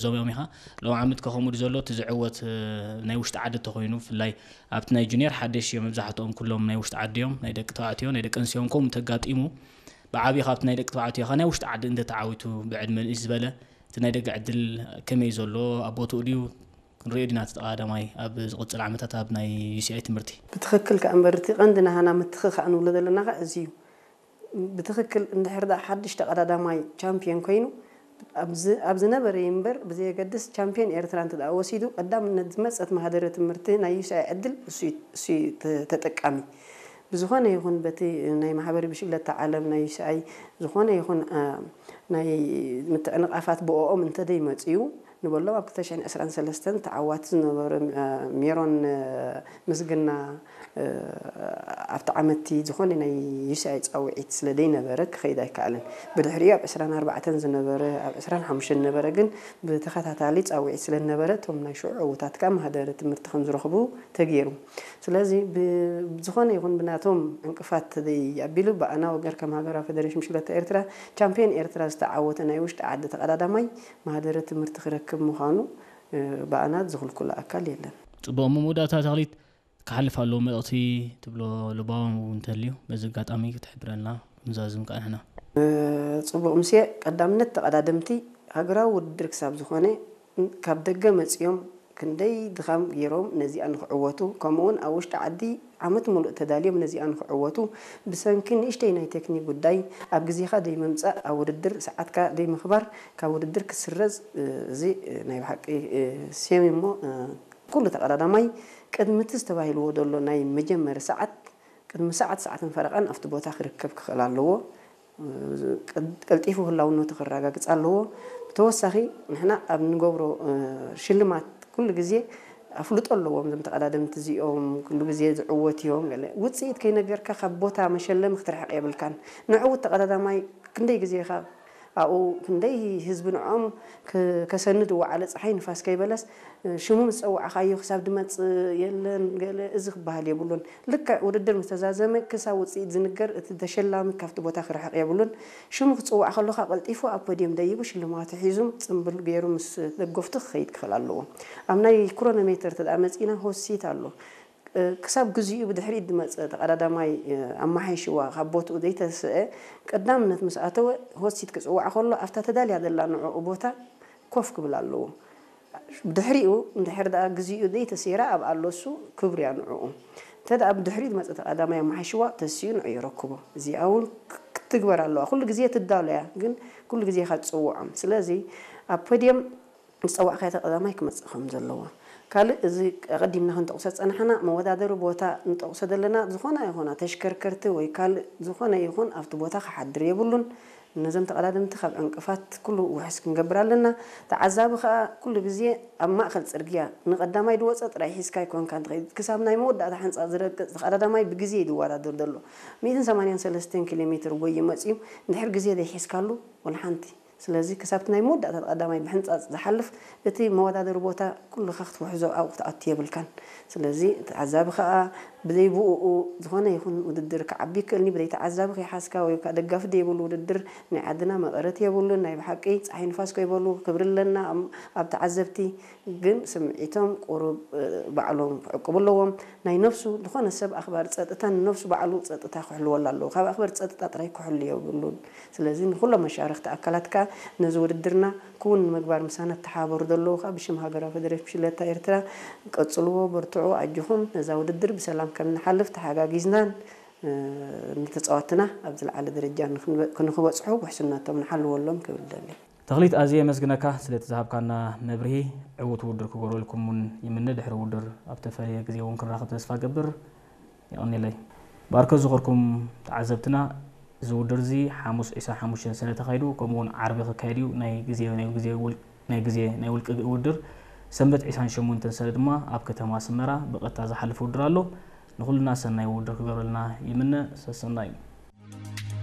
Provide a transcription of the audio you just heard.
ዞም እዮም ኢኻ። ሎም ዓመት ከ ከምኡ ድዩ ዘሎ እቲ ዝዕወት፣ እ፣ ናይ ውሽጢ ዓዲ እንተኾይኑ፣ ብፍላይ ኣብቲ ናይ ጁኒየር ሓደሽ እዮም፣ መብዛሕትኦም ኩሎም ናይ ውሽጢ ዓዲ እዮም፣ ናይ ደቂ ተባዕትዮ፣ ናይ ደቂ ኣንስትዮ እውን ከምኡ እንተጋጢሙ፣ ብዓብዩ ካብቲ ናይ ደቂ ተባዕትዮ ኸ ናይ ውሽጢ ዓዲ እንተተዓዊቱ ብዕድመ ንእስ ዝበለ፣ እቲ ናይ ደገ ዕድል ከመይ ዘሎ ኣብ ቦትኡ ድዩ? ክንሪኦ ዲና እቲ ተቐዳዳማይ ኣብ ዝቕጽል ዓመታት ኣብ ናይ ዩ ሲ ኣይ ትምህርቲ። ብትኽክል ከኣ እምበር እቲ ቀንዲ ናህና ምትኽኻእ ንብሎ ዘለና ኸኣ እዚ እዩ። ብትኽክል እንድሕር ደኣ ሓድሽ ተቐዳዳማይ ቻምፒዮን ኮይኑ፣ ኣብ ዝ-፣ ኣብ ዝነበረ እምበር ብዘየገድስ ቻምፒዮን ኤርትራ እንተ ደኣ ወሲዱ፣ ቀዳምነት ዝመጸት ማህደረ ትምህርቲ ናይ ዩ ሲ ኣይ ዕድል እሱ እዩ፣ እሱ እዩ ተ-፣ ተጠቃሚ። ብዝኾነ ይኹን በቲ ናይ ማሕበር ብሽግለታ ዓለም ናይ ዩ ሲ ኣይ ዝኾነ ይኹን፣ አ፣ ናይ ምትዕንቓፋት ብኦኦም እንተ ደይመጽኡ ንበሎም ኣብ ክልተ ሽሕን ዕስራን ሰለስተን ተዓዋቲ ዝነበረ፣ አ፣ ሜሮን፣ አ፣ ምስግና፣ እ፣ ኣብቲ ዓመትቲ ዝኾነ ናይ ዩ ሲ ኣይ ጻውዒት ስለ ዘይነበረ ክኸይድ ኣይከኣለን። ብድሕሪኡ ኣብ ዕስራን ኣርባዕተን ዝነበረ፣ ኣብ ዕስራን ሓሙሽተን ዝነበረ ግን ብተኸታታሊ ጻውዒት ስለ ዝነበረ እቶም ናይ ሽዑ ዕዉታት ከኣ ማህደረ ትምህርቲ ከም ዝረኽቡ ተገይሩ። ስለዚ ብ-፣ ብዝኾነ ይኹን ብናቶም ዕንቅፋት ተዘይ ኣቢሉ ብኣና ወገን ከም ሃገራዊ ፌደሬሽን ብሽክለታ ኤርትራ ቻምፒዮን ኤርትራ ዝተዓወተ ናይ ውሽጢ ዓዲ ተቐዳዳማይ ማህደረ ትምህርቲ ክረክብ ምዃኑ፣ እ፣ ብኣና ዝኽልክሎ ኣካል የለን። ጽቡቕ፣ መወዳእታ ተኽሊት፣ ክሓልፍ ኣለዎ መልእኽቲ ትብሎ ልባዎም እውን እንተልዩ፣ በዚ ኣጋጣሚ ክትሕብረልና ክንዛዝም ከኣ ንሕና። እ፣ ጽቡቕ፣ ምሴ ቀዳምነት ተቐዳደምቲ ሃገራዊ ውድድር ክሳብ ዝኾነ፣ ካብ ደገ መጺኦም ክንደይ ድኻም ገይሮም ነዚኣ ንኽዕወቱ፣ ከምኡውን ኣብ ውሽጢ ዓዲ ዓመት ሙሉእ ተዳልዮም ነዚኣ ንኽዕወቱ፣ ብሰንኪ ንእሽተይ ናይ ቴክኒክ ጉዳይ ኣብ ግዜኻ ደይምምጻእ፣ ኣብ ውድድር ሰዓትካ ደይምኽባር፣ ካብ ውድድር ክስረዝ፣ እ፣ እዚ፣ እ፣ ናይ ብሓቂ፣ እ፣ ሴም እሞ፣ እ፣ ኩሉ ተቐዳዳማይ ቅድሚ እቲ ዝተባሂልዎ ዘሎ ናይ መጀመሪ ሰዓት፣ ቅድሚ ሰዓት፣ ሰዓትን ፈረቓን ኣብቲ ቦታ ክርከብ ክኽእል ኣለዎ። ቀልጢፉ ህላውነቱ ክረጋግጽ ኣለዎ። ብተወሳኺ ንሕና ኣብ ንገብሮ፣ እ፣ ሽልማት ኩሉ ግዜ ኣፍልጦ ኣለዎም። እዞም ተቐዳደምቲ እዚኦም ኩሉ ግዜ ዝዕወት እዮም። ገለ ውጽኢት ከይነገርካ ካብ ቦታ መሸለሚ ክትርሕቕ የብልካን። ንዕዉት ተቐዳዳማይ ክንደይ ግዜ ኢኻ ኣብኡ፣ ክንደይ ህዝቢ ንዕኦም ክ-፣ ከሰንድ ወዓለ፣ ጸሓይ ንፋስ ከይበለስ፣ ሽሙ ምስ ጸዋዕኻዮ ክሳብ ድመጽእ የለን፣ ገለ እዚ ክበሃል የብሉን። ልክዕ ውድድር ምስ ተዛዘመ ክሳብ ውጽኢት ዝንገር እቲ ተሸላሚ ካብቲ ቦታ ክርሕቕ የብሉን። ሽሙ ክጽዋዕ ከሎ ከኣ ቀልጢፉ ኣብ ፖድየም ደይቡ ሽልማቱ ሒዙ ጽምብል ገይሩ ምስ ደገፍቱ ክኸይድ ክኽእል ኣለዎ። ኣብ ናይ ክሮኖሜተር እንተ ደኣ መጺእና ሆት ሲት ኣሎ። እ፣ ክሳብ ግዚኡ ብድሕሪት ዝመጸ ተቐዳዳማይ፣ እ፣ ኣመሓይሽዋ ካብ ቦትኡ ዘይተስአ ቀዳምነት ምስ ኣተወ ሆት ሲት ክጽዋዕ ከሎ ኣብታ ተዳልያ ዘላ ንዕኡ ቦታ ኮፍ ክብል ኣለዎ። ብድሕሪኡ እንድሕር ደኣ ግዚኡ ዘይተሰይራ ኣብኣ ኣሎ እሱ ክብርያ ንዕኡ። እንተ ደኣ ብድሕሪኡ ዝመጸ ተቐዳማይ ኣመሓይሽዋ ተሲኡ ንዑ የረክቦ። እዚኣ እውን ክ-፣ ክትግበር ኣለዋ። ኩሉ ግዜ ትዳሎ እያ፣ ግን ኩሉ ግዜ ኢኻ ትጽውዖም። ስለዚ ኣብ ፖድየም ዝጸዋዕካዮ ተቐዳማይ ክመጽእ ከም ዘለዎ። ካልእ እዚ ኣቐዲምና ክንጠቕሶ ዝጸናሕና መወዳደሪ ቦታ ንጠቕሶ ዘለና ዝኾና ይኹና ተሽከርከርቲ ወይ ካልእ ዝኾነ ይኹን ኣብቲ ቦታ ክሓድር የብሉን። ነዞም ተቐዳደምቲ ካብ ዕንቅፋት ኩሉ ውሕስ ክንገብር ኣለና። ተዓዛቢ ከኣ ኩሉ ግዜ ኣብ ማእከል ጽርግያ ንቐዳማይ ዝወጸ ጥራይ ሒዝካ ኣይኮንካን ትኸይድ። ክሳብ ናይ መወዳእታ ሕንጻ ዝረግጽ ተቐዳዳማይ ብግዜ እዩ ዝወዳደር ዘሎ። ሚእትን ሰማንያን ሰለስተን ኪሎ ሜትር ጎዩ መጺኡ እንድሕር ግዜ ዘይሒዝካሉ ወላ ሓንቲ። ስለዚ ክሳብ እቲ ናይ መወዳእታ ተቐዳማይ ብሕንጻጽ ዝሓልፍ እቲ መወዳደሪ ቦታ ኩልኻ ክትውሕዞ ኣብኡ ክትኣቱ የብልካን። ስለዚ ተዓዛቢ ከኣ ብዘይ ብኡኡ ዝኾነ ይኹን ውድድር ክዓቢ ይክእልኒ፣ ብዘይ ተዓዛቢ ከይሓዝካ ወይ ከኣ ደጋፊ ዘይብሉ ውድድር ናይ ዓድና መቐረት የብሉን። ናይ ብሓቂ ጸሓይ ንፋስ ከይበሉ ክብሪ ኣለና ኣብ፣ ኣብ ተዓዘብቲ። ግን ስምዒቶም ቁሩብ፣ እ፣ ባዕሎም ክዕቅቡ ኣለዎም። ናይ ነፍሱ ዝኾነ ሰብ ኣኽባሪ ጸጥታ ንነፍሱ ባዕሉ ጸጥታ ክሕልወላ ኣለዎ። ካብ ኣኽበርቲ ጸጥታ ጥራይ ክሕሉ የብሉን። ስለዚ ንኹሎም መሻርኽቲ ኣካላት ከኣ ነዚ ውድድርና ክውን ንምግባር ምሳና እተሓባበሩ ዘለዉ ከኣ ብሽም ሃገራዊ ፌደሬሽን ብሽክለታ ኤርትራ ቀጽልዎ፣ በርትዑ፣ ኣጆኹም። ነዛ ውድድር ብሰላም ከም ንሓልፍ ተሓጋጊዝናን፣ እ፣ ንተጻወትና ኣብ ዝለዓለ ደረጃ ንኽንበ-፣ ንኽበጽሑ ውሕስነቶም ንሓልወሎም ክብል እደሊ። ተኽሊት፣ ኣዝየ የመስግነካ ስለቲ ዝሃብካና መብርሂ። ዕዉት ውድድር ክገብረልኩም እውን ይምነ። ድሕሪ ውድድር ኣብ ተፈለየ ግዜ እውን ክንራኸብ ተስፋ እገብር። የቐንየለይ። ብኣርከ ዝኸርኩም ተዓዘብትና፣ እዚ ውድድር እዚ ሓሙስ ዒስራን ሓሙሽተን ሰነ ተኻይዱ፣ ከምኡ እውን ዓርቢ ክካየድ እዩ። ናይ ግዜ፣ ናይ ግዜ ውል-፣ ናይ ግዜ ናይ ውልቂ ውድድር ሰንበት ዒስራን ሸሞንተን ሰነ ድማ ኣብ ከተማ ኣስመራ ብቐጥታ ዝሓልፍ ውድድር ኣሎ። ንኹልና ሰናይ ውድድር ክገብረልና ይምነ። ሰሰናዩ።